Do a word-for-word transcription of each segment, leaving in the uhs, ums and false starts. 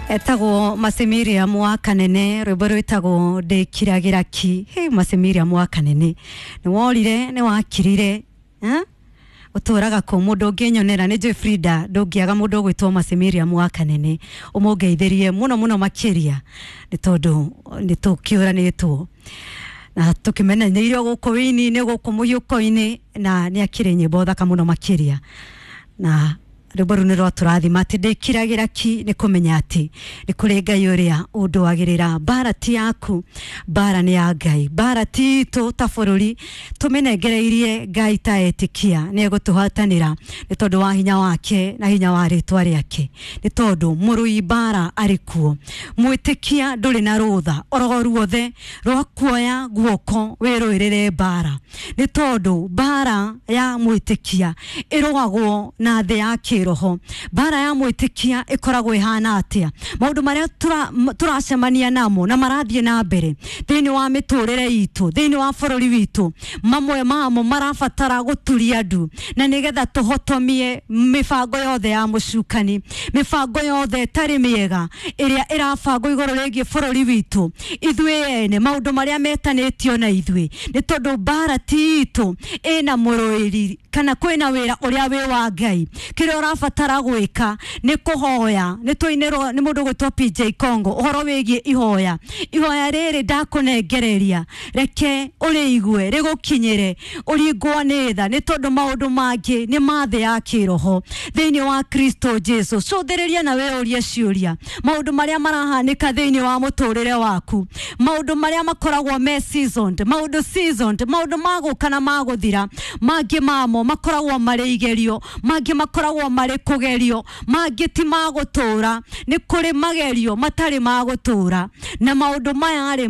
Etagwo Mercy Miriam wa Kanene, rwĩmbo rwĩtagwo ndĩkiragĩra ki. Hey, Mercy Miriam wa Kanene, nĩ worire nĩ wakirire, eh? Ũtũraga kũ mũndũ ũngĩnyonera nĩ njũĩ Frida, ndũngĩaga mũndũ ũgwĩtwo Mercy Miriam wa Kanene ũmũngeithĩrie mũno mũno makĩria, nĩ tondũ nĩ tũkĩũranĩtwo na tũkĩmenyanĩirio gũkũ wĩini-inĩ, gũkũ mũhiũko-inĩ, na nĩ akĩrĩ nyĩmbo thaka mũno makĩria, na rwĩmbo rũu nĩ rwatũrathima atĩ ndĩkiragĩra ki, nĩ kũmenya atĩ nĩ kũrĩ Ngai ũrĩa ũndũagĩrĩra. Mbara ti yaku, mbara nĩ ya Ngai, mbara ti itũ ta bũrũri, tũmĩnengereirie Ngai ta etĩkia, nĩ egũtũhatanĩra nĩ tondũ wa hinya wake na hinya wa rĩtwa rĩake, nĩ tondũ mũrũi mbara arĩ kuo. Mwĩtĩkia ndũrĩ na rũtha oro ruothe rwa kuoya guoko wĩrũĩrĩre mbara, nĩ tondũ mbara ya mwĩtĩkia ĩrũagwo na thĩ ya kĩroho. Mbara ya mwĩtĩkia ĩkoragwo ĩhana atĩa? Maũndũ marĩa tũracemania namo na marathiĩ na mbere thĩinĩ wa mĩtũrĩre itũ, thĩinĩ wa bũrũri witũ, mamwe mamo marabatara gũturia ndu, na nĩgetha tũhotomie mĩbango yothe ya mũcukani, mĩbango yothe ĩtarĩ mĩega ĩrĩa ĩrabangwo igũrũ rĩgiĩ bũrũri witũ, ithuĩ ene, maũndũ marĩa metanĩtio na ithuĩ, nĩ tondũ mbara ti itũ, ĩna mũrũĩri kana kwĩna wĩra ũrĩa wĩ wa Ngai. Kĩrĩa ũrabatara gwĩka nĩ kũhoya. Nĩ tũinĩrwo nĩ mũndũ ũgwĩtwo P J Congo ũhoro wĩgiĩ ihoya. Ihoya rĩrĩ ndakũnengereria, reke ũrĩigue rĩgũkinyĩre, ũringwo nĩ tha, nĩ tondũ maũndũ mangĩ nĩ ma thĩ ya kĩroho thĩinĩ wa Kristo Jesu. Cũthĩrĩria na wĩyũrie ciũria, maũndũ marĩa marahanĩka thĩinĩ wa mũtũrĩre waku, maũndũ marĩa makoragwo me seasoned, maũndũ seasoned, maũndũ ma gũka na ma gũthira, mangĩ mamo makoragwo marĩ igerio, mangĩ makoragwo marĩ kũgerio, mangĩ ti ma gũtũra. Nĩ kũrĩ magerio matarĩ ma gũtũra, na maũndũ maya rĩ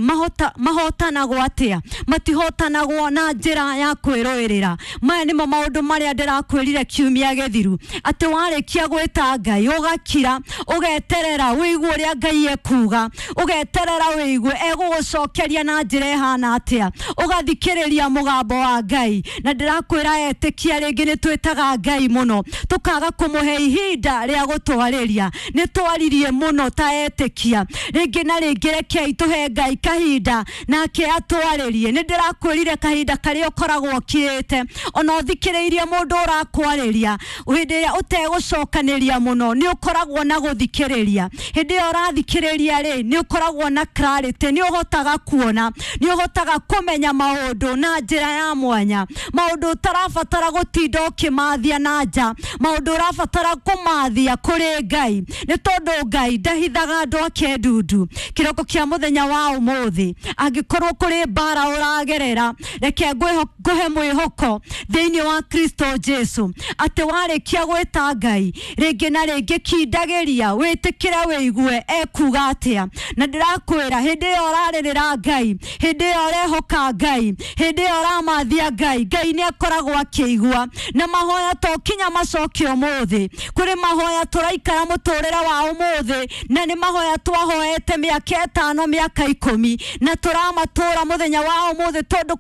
mahotanagwo atĩa? Matihotanagwo na njĩra ya kwĩrũĩrĩra. Maya nĩmo maũndũ marĩa ndĩrakwĩrire kiumia gĩthiru, atĩ warĩkia gwĩta Ngai ũgakira, ũgeterera wĩigue ũrĩa Ngai ekuga, ũgeterera wĩigue egũgũcokeria na njĩra ĩhana atĩa, ũgathikĩrĩria mũgambo wa Ngai. Na ndĩrakwĩra etĩkia rĩngĩ nĩ twĩtaga Ngai mũno, tũkaga kũmũhe ihinda rĩa gũtwarĩria. Nĩ twaririe mũno ta etĩkia, rĩngĩ na rĩngĩ rekei tũhe Ngai kahinda nake atwarĩrie. Nĩ ndĩrakwĩrire kahinda karĩa ũkoragwo ũkirĩte, ona ũthikĩrĩirie mũndũ ũrakwarĩria, hĩndĩ ĩrĩa ũtegũcokanĩria mũno nĩ ũkoragwo na gũthikĩrĩria. Hĩndĩ ĩyo ũrathikĩrĩria rĩ, nĩ ũkoragwo na clarity, nĩ ũhotaga kuona, nĩ ũhotaga kũmenya maũndũ na njĩra ya mwanya, maũndũ ũtarabatara gũtinda ũkĩmathia na nja, maũndũ ũrabatara kũmathia kũrĩ Ngai, nĩ tondũ Ngai ndahithaga andũ ake ndundu. Kĩroko kĩa mũthenya wa ũmũthĩ, angĩkorwo kũrĩ mbara ũragerera, reke ngũhe mwĩhoko thĩinĩ wa Kristo Jesu, atĩ warĩkia gwĩta Ngai rĩngĩ na rĩngĩ, kindagĩria wĩtĩkĩre wĩigue ekuga atĩa. Na ndĩrakwĩra hĩndĩ ĩyo ũrarĩrĩra Ngai, hĩndĩ ĩyo ũrehoka Ngai, hĩndĩ ĩyo ũramathia Ngai, Ngai nĩ akoragwo akĩigua. Na mahoya to kinya macoke ũmũthĩ, kũrĩ mahoya tũraikara mũtũrĩre wa ũmũthĩ, na nĩ mahoya twahoete mĩaka ĩtano, mĩaka ikũmi, na tũramatũra mũthenya wa ũmũthĩ, tondũ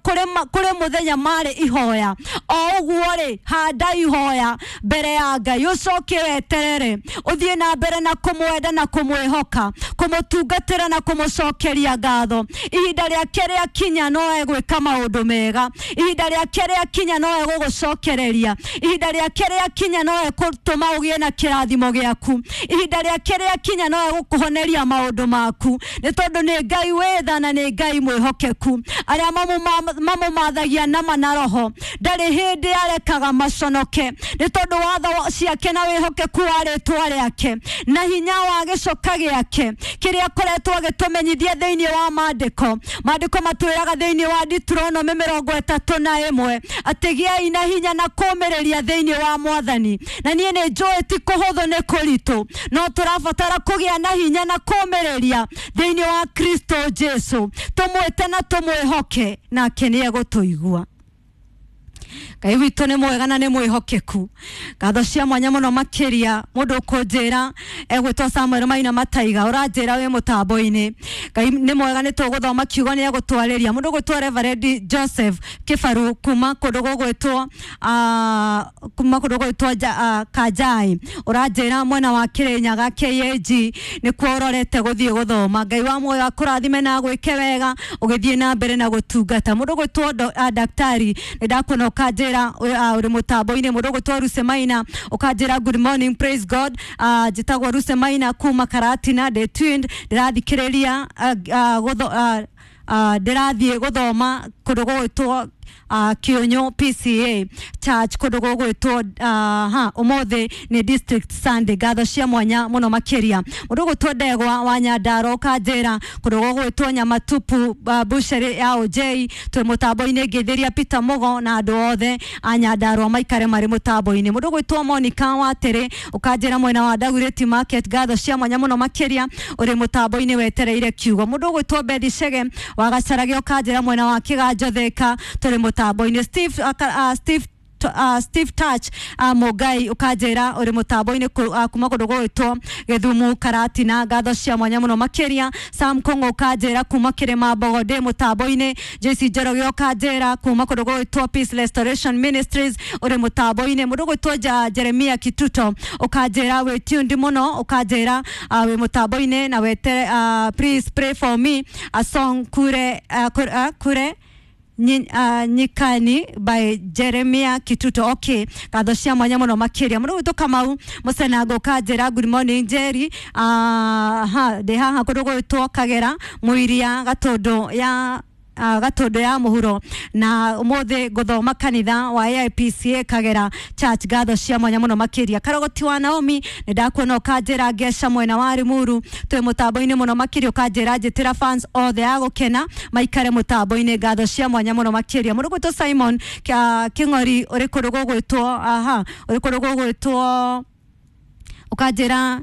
kũrĩ mũthenya marĩ ihoya. O ũguo rĩ, handa ihoya mbere ya Ngai, ũcoke weterere, ũthiĩ na mbere na kũmwenda na kũmwĩhoka, kũmũtungatĩra na kũmũcokeria ngatho. Ihinda rĩake rĩakinya no egwĩka maũndũ mega, ihinda rĩake rĩakinya no egũgũcokereria, ihinda rĩake rĩakinya no egũtũma ũgĩe na kĩrathimo gĩaku, ihinda rĩake rĩakinya no egũkũhoneria maũndũ maku, nĩ tondũ nĩ Ngai wĩ tha na nĩ Ngai mwĩhokeku. Arĩa mamũmathagia nama na roho ndarĩ hĩndĩ arekaga maconoke, nĩ tondũ watho ciake na wĩhokeku wa rĩtwa rĩake na hinya wa gĩcoka gĩake kĩrĩa akoretwo agĩtũmenyithia thĩinĩ wa maandĩko. Maandĩko matwĩraga thĩinĩ wa Deuteronomy mĩrongo ĩtatũ na ĩmwe atĩ gĩai na hinya na kũũmĩrĩria thĩinĩ wa Mwathani. Na niĩ nĩ njũĩ ti kũhũthũ, nĩ kũritũ, no tũrabatara kũgĩa na hinya na kũũmĩrĩria thĩinĩ wa Kristo Jesu, tũmwĩte na tũmwĩhoke, nake nĩ egũtũigua. Ngai witũ nĩ mwega na nĩ mwĩhokeku. Ngatho cia mwanya mũno makĩria mũndũ ũkũnjĩra egwĩtwo Samuel Maina Mataiga, ũranjĩra wĩ mũtambo-inĩ. Ngai nĩ mwega, nĩ tũgũthoma kiugo nĩ egũtwarĩria. Mũndũ ũgwĩtwo Reverend Joseph Kĩbaru kuma kũndũ gũgwĩtwo ah, kuma kũndũ gũgwĩtwo Ja- ah, Kanjai, ũranjĩra mwena wa Kĩrĩnyaga K A G nĩkuo ũrorete gũthiĩ gũthoma. Ngai wa muoyo akũrathime na agwĩke wega ũgĩthiĩ na mbere na gũtungata. Mũndũ ũgwĩtwo do- ah, daktari nĩ ndakuona ũkanjĩra ũrĩ mũtambo-inĩ. Mũndũ ũgwĩtwo Ruse Maina ũkanjĩra good morning, praise God. Ah, njĩtagwo Ruse Maina kuma Karatina, ndĩ twin, ndĩrathikĩrĩria ah, ah, gũtho- ah, ah, ndĩrathiĩ gũthoma kũndũ gũgwĩtwo uh, Kĩũnyũ P C A Church kũndũ gũgwĩtwo uh, ha ũmũthĩ nĩ District Sunday. Ngatho cia mwanya mũno makĩria. Mũndũ ũgwĩtwo Ndegwa wa Nyandarua ũkanjĩra kũndũ gũgwĩtwo Nyamatupu uh, Butchery ya O J twĩ mũtambo-inĩ. Ngĩthĩria Peter Mugo na andũ othe a Nyandarua maikare marĩ mũtambo-inĩ. Mũndũ ũgwĩtwo Monica Watĩrĩ ũkanjĩra mwena wa Dagoretti Market, ngatho cia mwanya mũno makĩria, ũrĩ mũtambo-inĩ wetereire kiugo. Mũndũ ũgwĩtwo Bethi Chege wa Gacarage ũkanjĩra mwena wa Kĩganjo Thika tũrĩ mũtambo-inĩ. Steve, uh, uh, Steve Uh, Steve Touch uh, Mugai ũkanjĩra ũrĩ mũtambo-inĩ uh, kuma kũndũ gũgwĩtwo Gĩthumu Karatina, ngatho cia mwanya mũno makĩria. Sam Kong'o ũkanjĩra kuma Kĩrĩma Mbogo ndĩ mũtambo-inĩ. J C Njoroge ũkanjĩra kuma kũndũ gũgwĩtwo Peace Restoration Ministries ũrĩ mũtambo-inĩ. Mũndũ ũgwĩtwo Ja-, Jeremia Kituto ũkanjĩra wĩ tuned mũno, ũkanjĩra, uh, wĩ mũtambo-inĩ na wetere, uh, please pray for me a song kure, uh, kure, uh, kure Nyi-, uh, Nyikani by Jeremia Kituto. Okay, ngatho cia mwanya mũno makĩria. Mũndũ ũgwĩtwo Kamau Mũcenango ũkanjĩra good morning Jerry, uh, ha ndĩ haha kũndũ gũgwĩtwo Kagera Mũiria Gatũndũ ya Uh, Gatũndũ ya mũhuro, na ũmũthĩ ngũthoma kanitha wa A I P C A Kagera Church. Ngatho cia mwanya mũno makĩria. Karogoti wa Naomi nĩ ndakuona ũkanjĩra ngeca mwena wa Limuru twĩ mũtambo-inĩ mũno makĩria, ũkanjĩra njĩtĩra fans othe a gũkena maikare mũtambo-inĩ. Ngatho cia mwanya mũno makĩria. Mũndũ ũgwĩtwo Simon Kĩa-, Kĩng'ori ũrĩ kũndũ gũgwĩtwo, aha, ũrĩ kũndũ gũgwĩtwo ũkanjĩra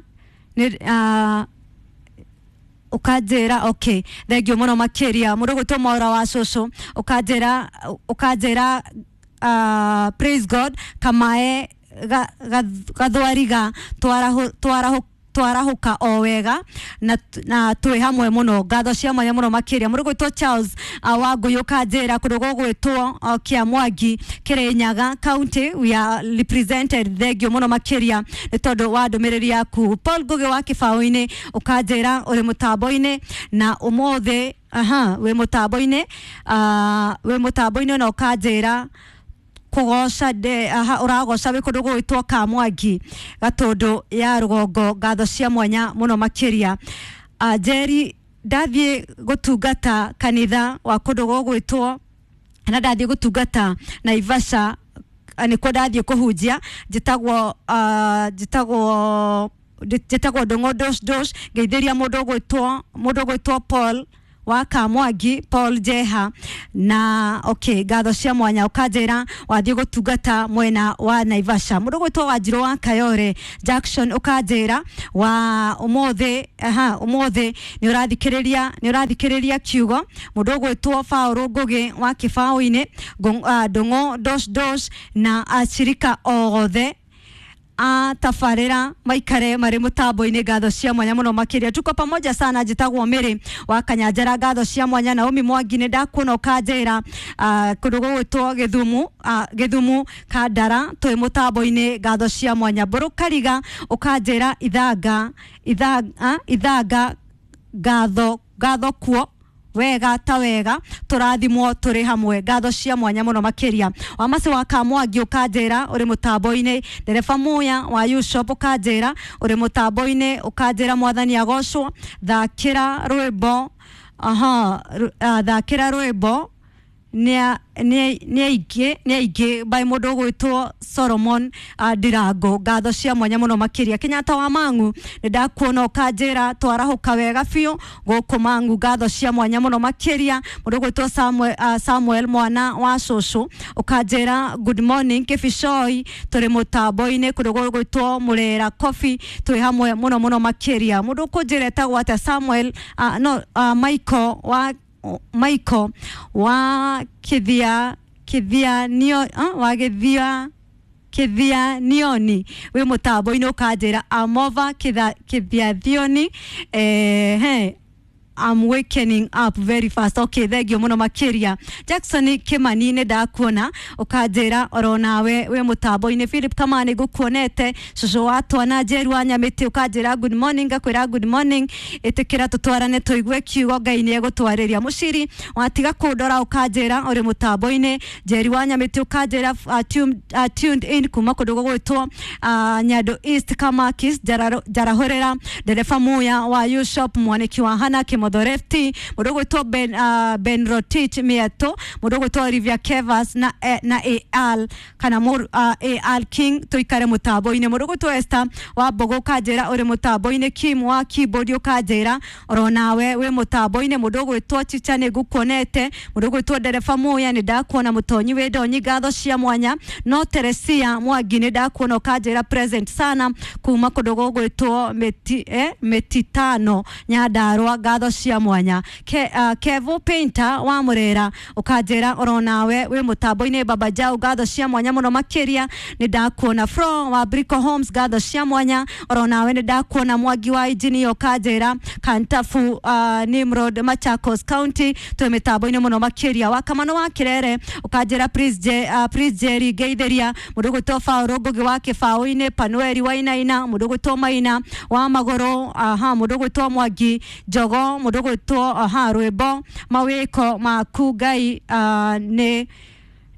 nĩ, ah, ũkanjĩra okay, thengiũ mũno makĩria. Mũndũ ũgwĩtwo Mwaura wa cũcũ ũkanjĩra, ũkanjĩra, uh, praise God kamae ga-, ga-, gathwariga twarahu-, twarahu-, twarahũka o wega na, na twĩ hamwe mũno. Ngatho cia mwanya mũno makĩria. Mũndũ ũgwĩtwo Charles, uh, wa Ngũyũ ũkanjĩra kũndũ gũgwĩtwo, uh, Kĩamwangi Kĩrĩnyaga County, we are represented. Thengiũ mũno makĩria nĩ tondũ wa ndũmĩrĩri yaku. Paul Ngũgĩ wa Kĩbaũ-inĩ ũkanjĩra ũrĩ mũtambo-inĩ na ũmũthĩ, aha, wĩ mũtambo-inĩ, uh, wĩ mũtambo-inĩ na ũkanjĩra kũgoca nde, aha, ũragoca wĩ kũndũ gũgwĩtwo Kamwangi Gatũndũ ya rũgongo. Ngatho cia mwanya mũno makĩria. Uh, Jerry, ndathiĩ gũtungata kanitha wa kũndũ gũgwĩtwo, na ndathiĩ gũtungata Naivasha, nĩkuo ndathiĩ kũhunjia, njĩtagwo, uh, njĩtagwo, njĩtagwo Ndũng'ũ Dosh Dosh. Ngeithĩria mũndũ ũgwĩtwo, mũndũ ũgwĩtwo Paul wa Kamwangi, Paul Jeha, na okay, ngatho cia mwanya. Ũkanjĩra wathiĩ gũtungata mwena wa Naivasha. Mũndũ ũgwĩtwo Wanjirũ wa Kayore Jackson ũkanjĩra wa ũmũthĩ, aha, ũmũthĩ nĩ ũrathikĩrĩria, nĩ ũrathikĩrĩria kiugo. Mũndũ ũgwĩtwo Paul Ngũgĩ wa Kĩbaũ-inĩ, Ngũ-, ah, Ndũng'ũ Dosh Dosh na acirika othe a tabarĩra maikare marĩ mũtambo-inĩ. Ngatho cia mwanya mũno makĩria. Tuko pamoja sana. Njĩtagwo Mary wa Kanyanjara. Ngatho cia mwanya. Naomi Mwangi nĩ ndakuona ũkanjĩra, ah, kũndũ gũgwĩtwo Gĩthumu, ah, Gĩthumu Kandara twĩ mũtambo-inĩ. Ngatho cia mwanya. Mbũrũ Kariga ũkanjĩra ithanga, ithanga, ithanga, ngatho, ngatho kuo wega ta wega, tũrathimwo tũrĩ hamwe. Ngatho cia mwanya mũno makĩria. Wamacĩ wa Kamwangi ũkanjĩra ũrĩ mũtambo-inĩ. Ndereba Muya wa U-Shop ũkanjĩra ũrĩ mũtambo-inĩ, ũkanjĩra mwathani agocwo. Thakĩra rwĩmbo, aha, ru-, ah, thakĩra rwĩmbo nĩ, nĩ, nĩ aingĩ, nĩ aingĩ by mũndũ ũgwĩtwo Solomon, uh, Ndirango. Ngatho cia mwanya mũno makĩria. Kenyatta wa Mang'u nĩ ndakuona ũkanjĩra twarahũka wega biũ gũkũ Mang'u. Ngatho cia mwanya mũno makĩria. Mũndũ ũgwĩtwo Samuel, uh, Samuel mwana wa cũcũ ũkanjĩra good morning Kĩbicoi, tũrĩ mũtambo-inĩ kũndũ gũgwĩtwo Mũrera Coffee, twĩ hamwe mũno mũno makĩria. Mũndũ ũkũnjĩra etagwo atĩa? Samuel, uh, no, uh, Michael wa Michael wa Kithia Kithia nio uh, wa Githia Kithia Nioni wi mutambo-ini ukanjira amova Kithia Kithia Thioni eh he I'm wakening up very fast. Okay, thank you muno makiria. Jackson Kimani nĩ ndakuona ukanjira oro nawe we mutambo-inĩ. Philip Kamani ngukuonete, cucu wa twana Njeru wa Nyamĩtĩ ukanjira good morning, ngakwĩra good morning. Ĩtĩkĩra tũtwarane tũigue kiugo Ngai nĩ egũtwarĩria. Mũciri watiga kũndora ukanjira ũrĩ mutambo-inĩ. Njeri wa Nyamĩtĩ ukanjira uh, tuned, uh, tuned in kuma kũndũ gũgwĩtwo uh, Nyando East Kamakis Njarahũrĩra ndereba Muya wa U Shop mwaniki wa Hana Kimotho Lefty mũndũ ũgwĩtwo Ben, uh, Ben Rotich Mieto mũndũ ũgwĩtwo Olivia Kevas na, eh, na A L kana uh, A L King tũikare mũtambo-inĩ. Mũndũ ũgwĩtwo Esther wa Mbogo ũkanjĩra ũrĩ mũtambo-inĩ. Kim wa keyboard ũkanjĩra oro nawe wĩ mũtambo-inĩ. Mũndũ ũgwĩtwo Chicha nĩ ngukuonete. Mũndũ ũgwĩtwo Ndereba Muya nĩ ndakuona. Mũtonyi wĩ ndonyi ngatho cia mwanya. No Teresia Mwangi nĩ ndakuona ũkanjĩra present sana kuma kũndũ gũgwĩtwo mĩti, eh, Mĩtitano Nyandarua ngatho cia mwanya. Ke, uh, Kevo Painter wa Murera ukanjira oro nawe wi mutambo-inĩ. Baba Jau ngatho cia mwanya muno makiria nĩ ndakuona. Fro wa Brico Homes ngatho cia mwanya oro nawe nĩ ndakuona. Mwangi wa engineer ukanjira Kantafu uh, Nimrod Machakos County twi mitambo-inĩ muno makiria. Wa Kamano wa Kirere ukanjira Prince Je, uh, Prince Jerry ngeithiria. Mũndũ ũgwĩtwo Paul Ngugi wa Kĩbaũ-inĩ, Panueli Wainaina, mũndũ ũgwĩtwo Maina wa Magũrũ, aha, mũndũ ũgwĩtwo Mwangi Njogo, mũndũ ũgwĩtwo aha rwĩmbo mawĩko maku Ngai uh, nĩ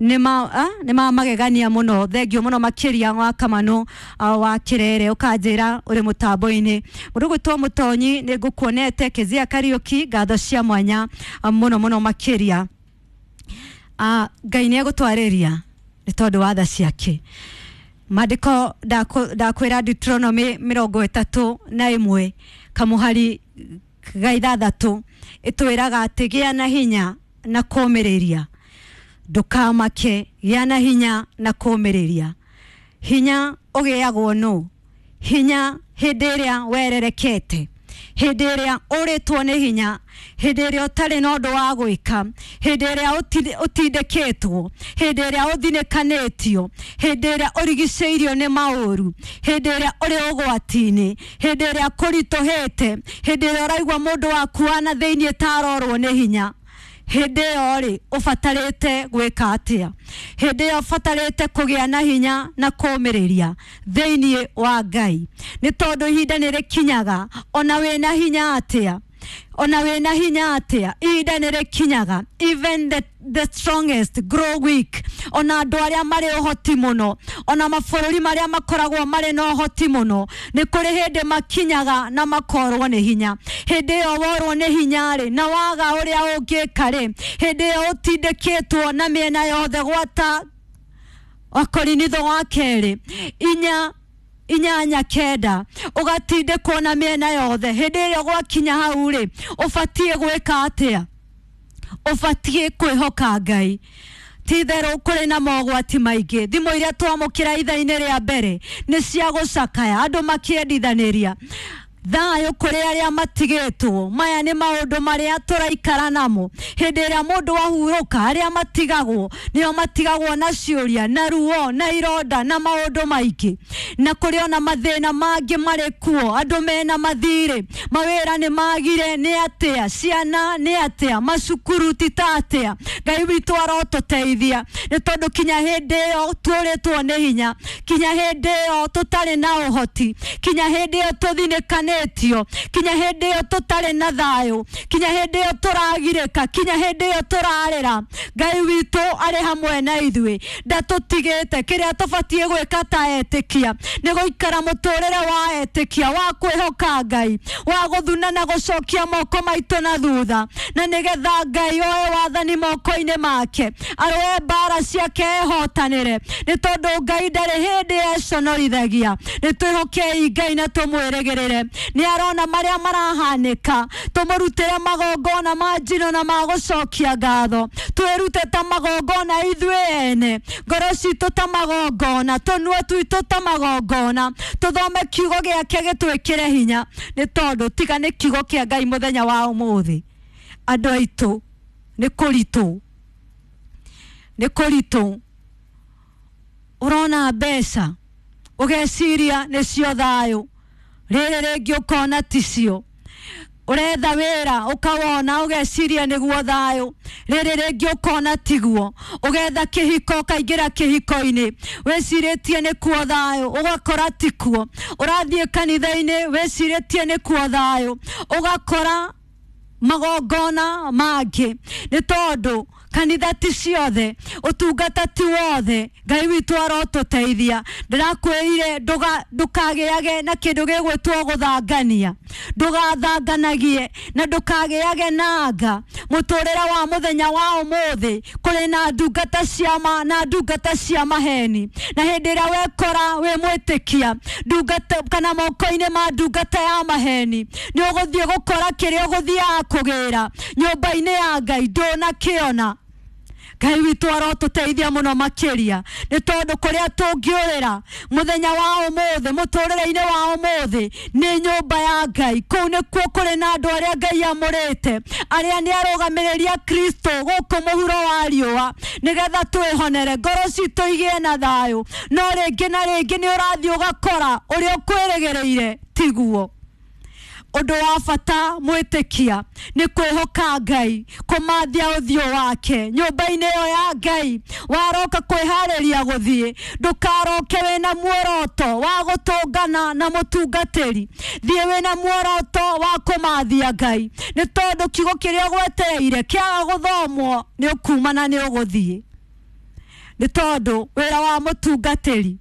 nĩ ma nĩ ma magegania mũno. Thengio mũno makĩria wa Kamano uh, wa Kirere ũkanjĩra ũrĩ mũtambo-inĩ. Mũndũ ũgwĩtwo Mũtonyi nĩ ngũkuonete. Kezia Kariuki ngatho cia mwanya uh, mũno mũno makĩria. uh, Ngai nĩ egũtwarĩria nĩ tondũ wa tha ciake. Maandĩko ndakwĩra Deuteronomy mĩrongo ĩtatũ na ĩmwe kamũhari ga ithathatũ ĩtwĩraga atĩ gĩa na hinya na kũũmĩrĩria, ndũkamake, gĩa na hinya na kũũmĩrĩria. Hinya ũgĩagwo nũ? Hinya hĩndĩ ĩrĩa wererekete, hĩndĩ ĩrĩa ũrĩtwo nĩ hinya, hĩndĩ ĩrĩa ũtarĩ na ũndũ wa gwĩka, hĩndĩ ĩrĩa ũtindĩkĩtwo, hĩndĩ ĩrĩa ũthinĩkanĩtio, hĩndĩ ĩrĩa ũrigicĩirio nĩ maũru, hĩndĩ ĩrĩa ũrĩ ũgwati-inĩ, hĩndĩ ĩrĩa kũritũhĩte, hĩndĩ ĩrĩa ũraigua mũndũ waku wa na thĩinĩ ta arorwo nĩ hinya. Hĩndĩ ĩyo rĩ ũbatarĩte gwĩka atĩa? Hĩndĩ ĩyo ũbatarĩte kũgĩa na hinya na kũũmĩrĩria thĩinĩ wa Ngai, nĩ tondũ ihinda nĩ rĩkinyaga ona wĩna hinya atĩa, ona wĩna hinya atĩa, ihinda nĩ rĩkinyaga even the, the strongest grow weak. Ona andũ arĩa marĩ ũhoti mũno, ona mabũrũri marĩa makoragwo marĩ na ũhoti mũno, nĩ kũrĩ hĩndĩ makinyaga na makorwo nĩ hinya. Hĩndĩ ĩyo worwo nĩ hinya rĩ, na waga ũrĩa ũngĩka rĩ, hĩndĩ ĩyo ũtindĩkĩtwo na mĩena yothe gwata Wakorinitho wa kerĩ inya inyanya kenda ũgatindĩkwo na mĩena yothe. Hĩndĩ ĩrĩa gwakinya hau rĩ, ũbatiĩ gwĩka atĩa? Ũbatiĩ kwĩhoka Ngai. Ti itherũ kũrĩ na mogwati maingĩ. Thimũ iria twamũkĩra ithaa-inĩ rĩa mbere nĩ cia gũcakaya, andũ makĩendithanĩria thayũ kũrĩ arĩa matigĩtwo. Maya nĩ maũndũ marĩa tũraikara namo. Hĩndĩ ĩrĩa mũndũ ahurũka, arĩa matigagwo nĩo matigagwo na ciũria na ruo na ironda na maũndũ maingĩ, na kũrĩ ona mathĩna mangĩ marĩ kuo. Andũ mena mathirĩ, mawĩra nĩ magire, nĩ atĩa ciana, nĩ atĩa macukuru, ti ta atĩa. Ngai witũ arotũteithia, nĩ tondũ kinya hĩndĩ ĩyo tuũrĩtwo nĩ hinya, kinya hĩndĩ ĩyo tũtarĩ na ũhoti, kinya hĩndĩ ĩyo tũthinĩkanĩtio, kinya hĩndĩ ĩyo tũtarĩ na thayũ, kinya hĩndĩ ĩyo tũragirĩka, kinya hĩndĩ ĩyo tũrarĩra, Ngai witũ arĩ hamwe na ithuĩ, ndatũtigĩte. Kĩrĩa tũbatiĩ gwĩka ta etĩkia nĩ gũikara mũtũrĩre wa etĩkia, wa kwĩhoka Ngai, wa gũthuna na gũcokia moko maitũ na thutha, na nĩgetha Ngai oe wathani moko-inĩ make, arũe mbara ciake ehotanĩre, nĩ tondũ Ngai ndarĩ hĩndĩ econorithagia. Nĩ twĩhokei Ngai na tũmwĩrĩgĩrĩre. Nĩ arona marĩa marahanĩka, tũmũrutĩre magongona ma njino na ma gũcokia ngatho, twĩrute ta magongona ithuĩ ene, ngoro citũ ta magongona, tũnua twitũ ta magongona, tũthome kiugo gĩake gĩtwĩkĩre hinya, nĩ tondũ tiga nĩ kiugo kĩa Ngai mũthenya wa ũmũthĩ, andũ aitũ nĩ kũritũ. Nĩ kũritũ. Ũrona mbeca ũgeciria nĩcio thayũ, rĩrĩ rĩngĩ ũkona ticio. Ũretha wĩra ũkawona ũgeciria nĩguo thayũ, rĩrĩ rĩngĩ ũkona tiguo. Ũgetha kĩhiko ũkaingĩra kĩhiko-inĩ wĩcirĩtie nĩkuo thayũ, ũgakora tikuo. Ũrathiĩ kanitha-inĩ wĩcirĩtie nĩkuo thayũ, ũgakora magongona mangĩ. Nĩ tondũ kanitha ti ciothe, ũtungata ti wothe. Ngai witũ arotũteithia. Ndĩrakwĩrire ndũkagĩage na kĩndũ gĩgwĩtwo gũthangania, ndũgathanganagie na ndũkagĩage na anga. Mũtũrĩre wa mũthenya wa ũmũthĩ kũrĩ na ndungata cia ma na ndungata cia maheni, na hĩndĩ ĩrĩa wekora wĩ mwĩtĩkia ndungata kana moko-inĩ ma ndungata ya maheni, nĩ ũgũthiĩ gũkora kĩrĩa ũgũthiaga kũgĩra nyũmba-inĩ ya Ngai ndũnakĩona. Ngai witũ arotũteithia mũno makĩria, nĩ tondũ kũrĩa tũngĩũrĩra mũthenya wa ũmũthĩ, mũtũrĩre-inĩ wa ũmũthĩ nĩ nyũmba ya Ngai. Kũu nĩkuo kũrĩ na andũ arĩa Ngai amũrĩte, arĩa nĩ arũgamĩrĩri a Kristo gũkũ mũhuro wa riũa, nĩgetha twĩhonere ngoro citũ igĩe na thayũ. No rĩngĩ na rĩngĩ nĩ ũrathiĩ ũgakora ũrĩa ũkwĩrĩgĩrĩire tiguo. Ũndũ wa bata mwĩtĩkia nĩ kwĩhoka Ngai, kũmathia ũthiũ wake nyũmba-inĩ ĩyo ya Ngai. Waroka kwĩharĩria gũthiĩ, ndũkaroke wĩna muoroto wa gũtũngana na mũtungatĩri. Thiĩ wĩna muoroto wa kũmathia Ngai, nĩ tondũ kiugo kĩrĩa ũgwetereire kĩaga gũthomwo nĩ ũkuma na nĩ ũgũthiĩ. Nĩ tondũ wĩra wa mũtungatĩri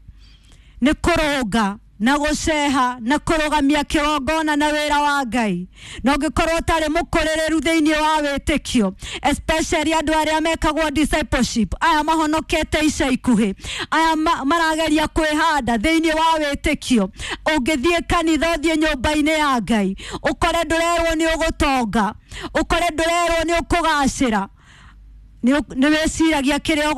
nĩ kũrũnga na gũceha na kũrũgamia kĩgongona na wĩra wa Ngai. Na ũngĩkorwo ũtarĩ mũkũrĩrĩru thĩinĩ wa wĩtĩkio, especially andũ arĩa mekagwo discipleship, aya mahonokete ica ikuhĩ, aya marageria kwĩhanda thĩinĩ wa wĩtĩkio, ũngĩthiĩ kanitha ũthiĩ nyũmba-inĩ ya Ngai ũkore ndũrerwo nĩ ũgũtonga, ũkore ndũrerwo nĩ ũkũgacĩra, nĩ wĩciragia kĩrĩa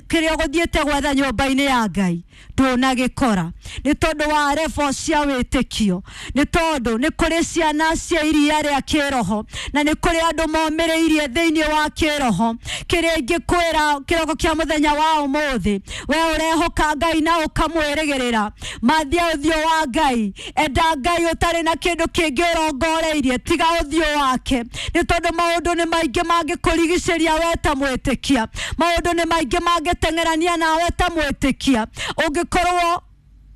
kĩrĩa ũgũthiĩte gwetha nyũmba-inĩ ya Ngai ndũnagĩkora. Nĩ tondũ wa revo cia wĩtĩkio, nĩ tondũ nĩ kũrĩ ciana cia iria rĩa kĩroho, na nĩ kũrĩ andũ momĩrĩirie thĩinĩ wa kĩroho. Kĩrĩa ingĩkwĩra kĩroko kĩa mũthenya wa ũmũthĩ, we ũrehoka Ngai na ũkamwĩrĩgĩrĩra, mathia ũthiũ wa Ngai, enda Ngai ũtarĩ na kĩndũ kĩngĩ ũrongoreirie tiga ũthiũ wake. Nĩ tondũ maũndũ nĩ maingĩ mangĩkũrigicĩria we ta mwĩtĩkia, maũndũ nĩ maingĩ mangĩteng'erania nawe ta mwĩtĩkia. Ũngĩkorwo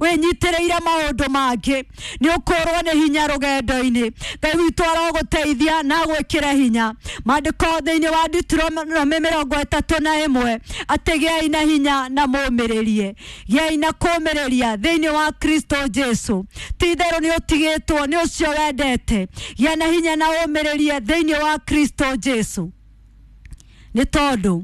wĩnyitĩrĩire maũndũ mangĩ nĩ ũkũrwo nĩ hinya rũgendo-inĩ. Ngai witũ arogũteithia na agwĩkĩre hinya. Maandĩko thĩinĩ wa Deuteronomy mĩrongo ĩtatũ na ĩmwe atĩ gĩai na hinya na mũmĩrĩrie, gĩai na kũmĩrĩria thĩinĩ wa Kristo Jesu. Ti itherũ nĩ ũtigĩtwo nĩ ũcio wendete. Gĩa na hinya na ũmĩrĩrie thĩinĩ wa Kristo Jesu. Nĩ tondũ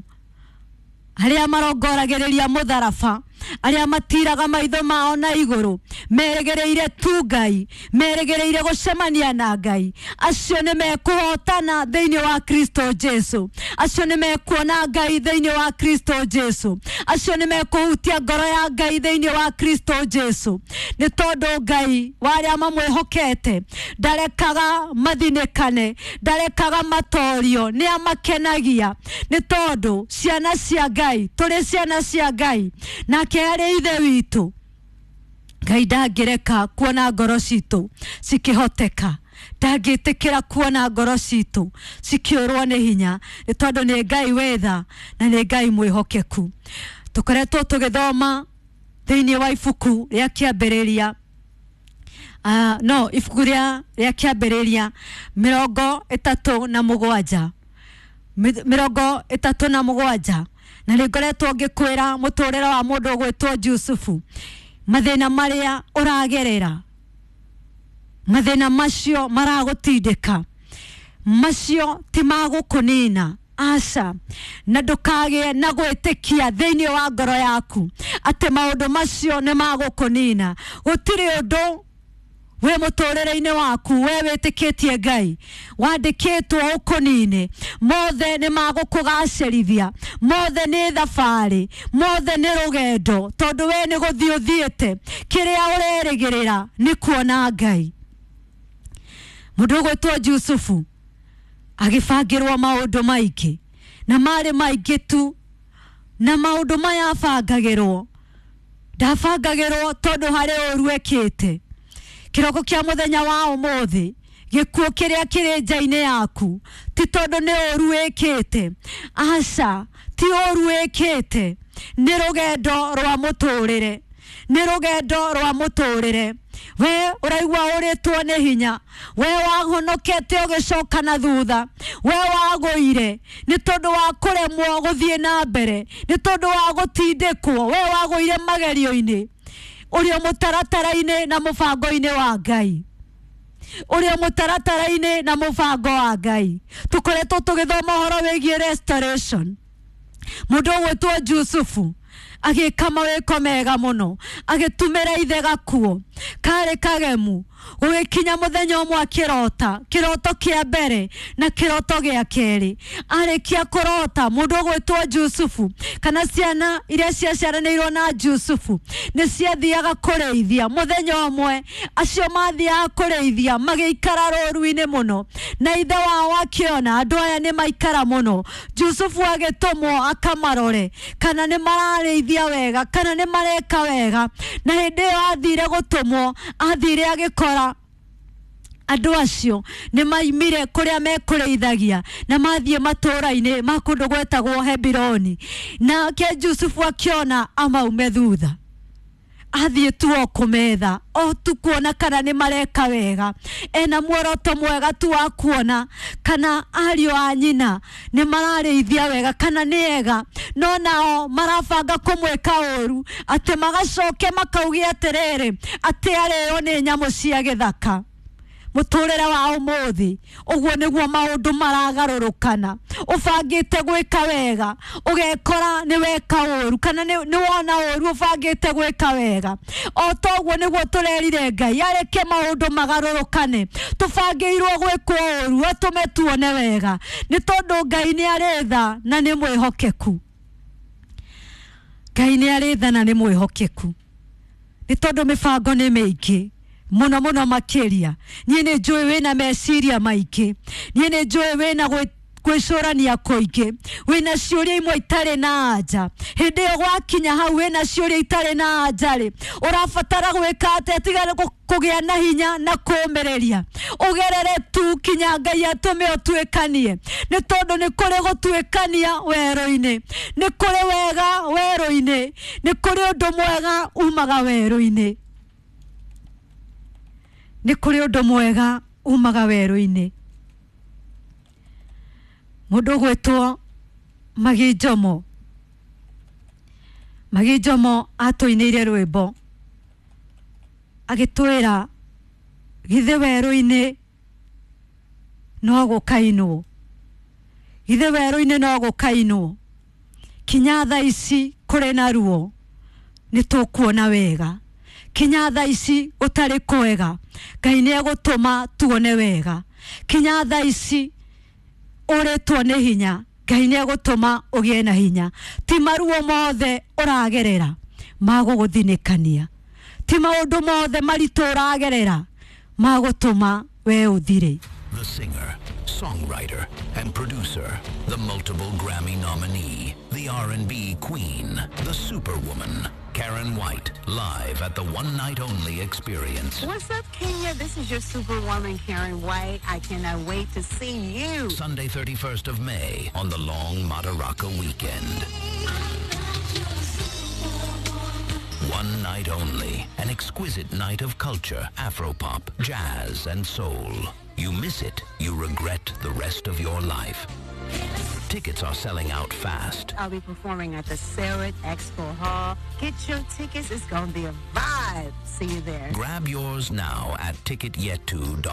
arĩa marongoragĩrĩria mũtharaba, arĩa matiraga maitho mao na igũrũ, merĩgĩrĩire tu Ngai, merĩgĩrĩire gũcemania na Ngai, acio nĩ mekũhotana thĩinĩ wa Kristo Jesu. Acio nĩ mekuona Ngai thĩinĩ wa Kristo Jesu. Acio nĩ mekũhutia ngoro ya Ngai thĩinĩ wa Kristo Jesu. Nĩ tondũ Ngai wa arĩa mamwĩhokete ndarekaga mathinĩkane, ndarekaga matorio, nĩ amakenagia. Nĩ tondũ ciana cia Ngai, tũrĩ ciana cia Ngai, nake arĩ ithe witũ. Ngai ndangĩreka kuona ngoro citũ cikĩhoteka, ndangĩtĩkĩra kuona ngoro citũ cikĩũrwo nĩ hinya, nĩ tondũ nĩ Ngai wĩ tha na nĩ Ngai mwĩhokeku. Tũkoretwo tũgĩthoma thĩinĩ wa ibuku rĩa kĩambĩrĩria, uh, no ibuku rĩa rĩa kĩambĩrĩria mĩrongo ĩtatũ na mũgwanja, mĩrongo ĩtatũ na mũgwanja, na nĩ ngoretwo ngĩkwĩra mũtũrĩre wa mũndũ ũgwĩtwo Jusufu, mathĩna marĩa ũragerera, mathĩna macio maragũtindĩka, macio ti magũkũnina, aca. Na ndũkagĩe na gwĩtĩkia thĩinĩ wa ngoro yaku atĩ maũndũ macio nĩ magũkũnina. Gũtirĩ ũndũ wĩ mũtũrĩre-inĩ waku we wĩtĩkĩtie Ngai wandĩkĩtwo ũkũnine. Mothe nĩ magũkũgacĩrithia, mothe nĩ thabarĩ, mothe nĩ rũgendo, tondũ we nĩ gũthiĩ ũthiĩte. Kĩrĩa ũrerĩgĩrĩra nĩ kuona Ngai. Mũndũ ũgwĩtwo Jusufu agĩbangĩrwo maũndũ maingĩ, na marĩ maingĩ tu. Na maũndũ maya abangagĩrwo, ndabangagĩrwo tondũ harĩ ũru ekĩte. Kĩroko kĩa mũthenya wa ũmũthĩ, gĩkuũ kĩrĩa kĩrĩ nja-inĩ yaku ti tondũ nĩ ũru wĩkĩte, aca, ti ũru wĩkĩte, nĩ rũgendo rwa mũtũrĩre, nĩ rũgendo rwa mũtũrĩre. We ũraigua ũrĩtwo nĩ hinya, we wahonokete ũgĩcoka na thutha, we wagũire nĩ tondũ wa kũremwo gũthiĩ na mbere, nĩ tondũ wa gũtindĩkwo, we wagũire magerio-inĩ, ũrĩ o mũtaratara-inĩ na mũbango-inĩ wa Ngai, ũrĩ o mũtaratara-inĩ na mũbango wa Ngai. Tũkoretwo tũgĩthoma ũhoro wĩgiĩ restoration. Mũndũ ũgwĩtwo Jusufu agĩka mawĩko mega mũno, agĩtumĩra ithe gakuo karĩ kagemu. Gũgĩkinya mũthenya ũmwe akĩrota kĩroto kĩa mbere na kĩroto gĩa kerĩ. Arĩkia kũrota, mũndũ ũgwĩtwo Jusufu kana ciana iria ciaciaranĩirwo na Jusufu nĩ ciathiaga kũrĩithia. Mũthenya ũmwe acio mathiaga kũrĩithia magĩikara rũru-inĩ mũno, na ithe wao akĩona andũ aya nĩ maikara mũno. Jusufu agĩtũmwo akamarore kana nĩ mararĩithia wega, kana nĩ mareka wega. Na hĩndĩ ĩyo athire gũtũmwo, athire agĩkora andũ acio nĩ maimire kũrĩa mekũrĩithagia na mathiĩ matũũra-inĩ ma kũndũ gwetagwo Hebironi. Nake Jusufu akĩona amaume thutha, athiĩ tu o kũmetha o tu kuona kana nĩ mareka wega. Ena muoroto mwega tu wa kuona kana ariũ a nyina nĩ mararĩithia wega kana nĩ ega, no nao marabanga kũmwĩka ũru, atĩ magacoke makauge atĩrĩrĩ, atĩ arĩo nĩ nyamũ cia gĩthaka. Mũtũrĩre wa ũmũthĩ ũguo nĩguo maũndũ maragarũrũkana. Ũbangĩte gwĩka wega ũgekora nĩ weka ũru, kana nĩ wona ũru ũbangĩte gwĩka wega. O toguo nĩguo tũrerire Ngai areke maũndũ magarũrũkane. Tũbangĩirwo gwĩkwo ũru atũme tuone wega, nĩ tondũ Ngai nĩ arĩ tha na nĩ mwĩhokeku. Ngai nĩ arĩ tha na nĩ mwĩhokeku, nĩ tondũ mĩbango nĩ mĩingĩ mũno mũno makĩria. Niĩ nĩ njũĩ wĩna meciria maingĩ, niĩ nĩ njũĩ wĩna gwĩcũrania kũingĩ, wĩna ciũria imwe itarĩ na anja. Hĩndĩ ĩyo gwakinya hau wĩna ciũria itarĩ na anja rĩ, ũrabatara gwĩka atĩa tiga kũgĩa na hinya na kũũmĩrĩria? Ũgerere tu kinya Ngai atũme ũtuĩkanie, nĩ tondũ nĩ kũrĩ gũtuĩkania werũ-inĩ, nĩ kũrĩ wega werũ-inĩ, nĩ kũrĩ ũndũ mwega umaga werũ-inĩ, nĩ kũrĩ ũndũ mwega umaga werũ-inĩ. Mũndũ ũgwĩtwo Magi Njomo, Magi Njomo atũinĩire rwĩmbo agĩtwĩra githĩ werũ-inĩ no gũkainwo, githĩ werũ-inĩ no gũkainwo, kinya thaa ici kũrĩ na ruo nĩ tũkuona wega, kinya thaa ici gũtarĩ kwega Ngai nĩ egũtũma tuone wega, kinya thaa ici ũrĩtwo nĩ hinya Ngai nĩ egũtũma ũgĩe na hinya. Ti maruo mothe ũragerera magũgũthinĩkania, ti maũndũ mothe maritũ ũragerera magũtũma we ũthire. The singer, songwriter, and producer, the multiple Grammy nominee, the R and B queen, the superwoman, Karen White, live at the One Night Only Experience. What's up, Kenya? This is your superwoman, Karen White. I cannot wait to see you. Sunday, thirty-first of May, on the long Madaraka weekend. One night only, an exquisite night of culture, Afropop, jazz, and soul. You miss it, you regret the rest of your life. Tickets are selling out fast. I'll be performing at the Sarit Expo Hall. Get your tickets. It's going to be a vibe. See you there. Grab yours now at ticket yetu dot com.